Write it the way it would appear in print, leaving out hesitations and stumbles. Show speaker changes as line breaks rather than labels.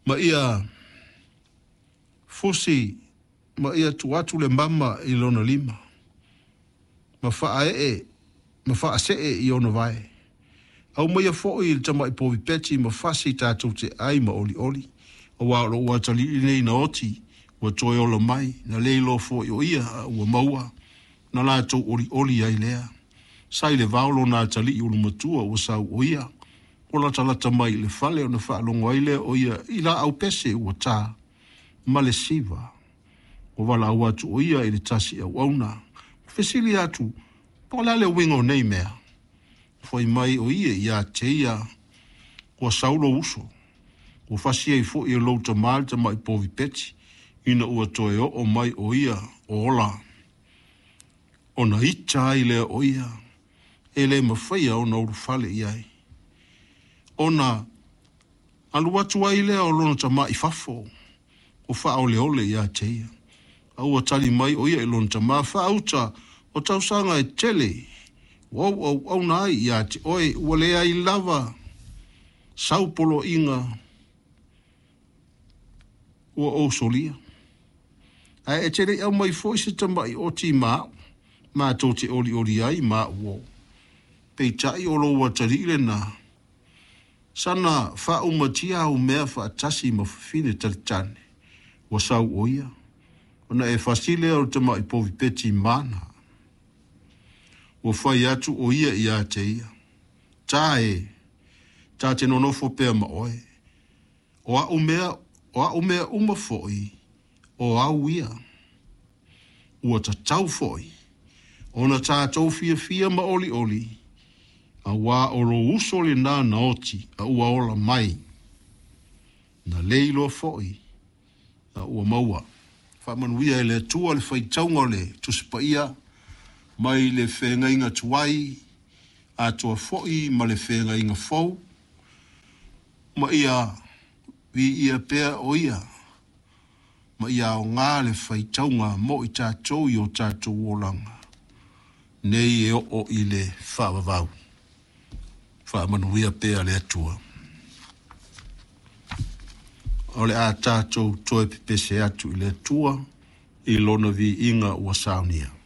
Ma ia fusi ma ia tuu atu le mama i lona lima, ma faaee ma faasee i ona vae. Aumaia foi le tamai povi peti ma fasi tatou te ai ma olioli, auā o lou atalii lenei na oti, ua toe ola mai, na le iloa foi o ia, a ua maua, ona latou olioli ai lea. Sa i le vao lona atalii ulumatua ua sau o ia, ua latalata mai i le fale ona faalogo ai lea o ia i laau pese ua ta ma le siva. Ua valaau atu o ia i le tasi auauna, ua fesili atu, Po o le a le uiga o nei mea? Fai mai o ia ia te ia, Ua sau lou uso, ua fasi ai foi e lou tama le tamai povi peti, ina ua toe oo mai o ia o ola. Ona ita ai lea o ia, e le mafaia ona ulufale i ai. Ona alu atu ai lea o lona tama i fafo, ua faaoleole ia te ia. A ua tali mai o ia i lona tama, Faauta o tausaga e tele ua ou auauna ai ia te oe, ua leai lava sau poloaiga ua ou solia. Ae e te le i aumai foi se tamai oti ma au, matou te olioli ai ma au uo. Peitai o lou atalii lena, sana faaumatia au mea faatasi ma fafine talitane, ua sau o ia, ona e fasi lea o le tamai povi peti mana. Ua fai atu o ia ia te ia, Ta e, ta te nonofo pea ma oe, o a'u mea, o a'u mea uma foi, o au ia. Ua tatau foi ona tatou fiafia ma olioli, auā o lou uso lenā na oti a ua ola mai, na le iloa foi a ua maua. Faamanuia e le Atua le faitauga o le Tusi Paia mai le Feagaiga Tuai atoa foi ma le Feagaiga Fou, ma ia viia pea o ia, ma ia aoga le faitauga mo i tatou i o tatou olaga nei e oo i le faavavau. Faamanuia pea le Atua. O le a tatou toe pepese atu i le Atua i lona viiga ua saunia.